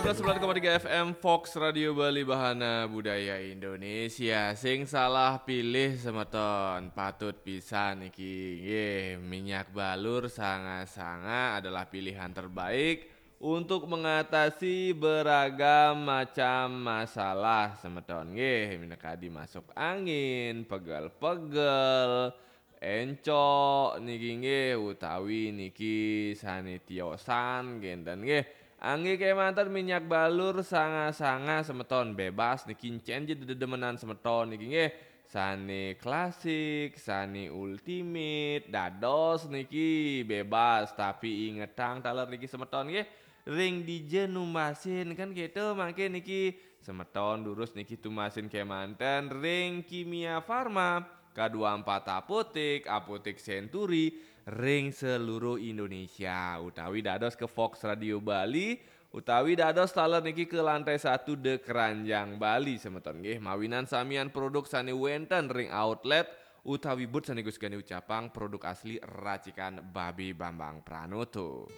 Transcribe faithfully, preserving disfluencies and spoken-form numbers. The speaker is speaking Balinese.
Sembilan koma tiga F M Fox Radio Bali, Bahana Budaya Indonesia. Sing salah pilih semeton, patut pisan niki. Nggih, minyak balur sanga-sanga adalah pilihan terbaik untuk mengatasi beragam macam masalah semeton. Nggih, minangka masuk angin, pegel-pegel, encok niki nggih, utawi niki sane tiosan kenten nggih. Angge kemanten minyak balur sanga-sanga semeton, bebas niki encen je dedemenan semeton niki nggih. Sane klasik, sane ultimate, dados niki bebas, tapi ingetang taler niki semeton nggih. Ring dija numasin kan gitu, mangke niki semeton durus niki tumasin kemanten ring Kimia Farma, K dua empat Apotek, Apotek Century, ring seluruh Indonesia, utawi dados ke Fox Radio Bali, utawi dados taler niki ke lantai satu The Keranjang Bali semeton nggih, mawinan samian produk sane wenten ring outlet utawi booth sane Gus Gani ucapang, produk asli racikan Babe Bambang Pranoto.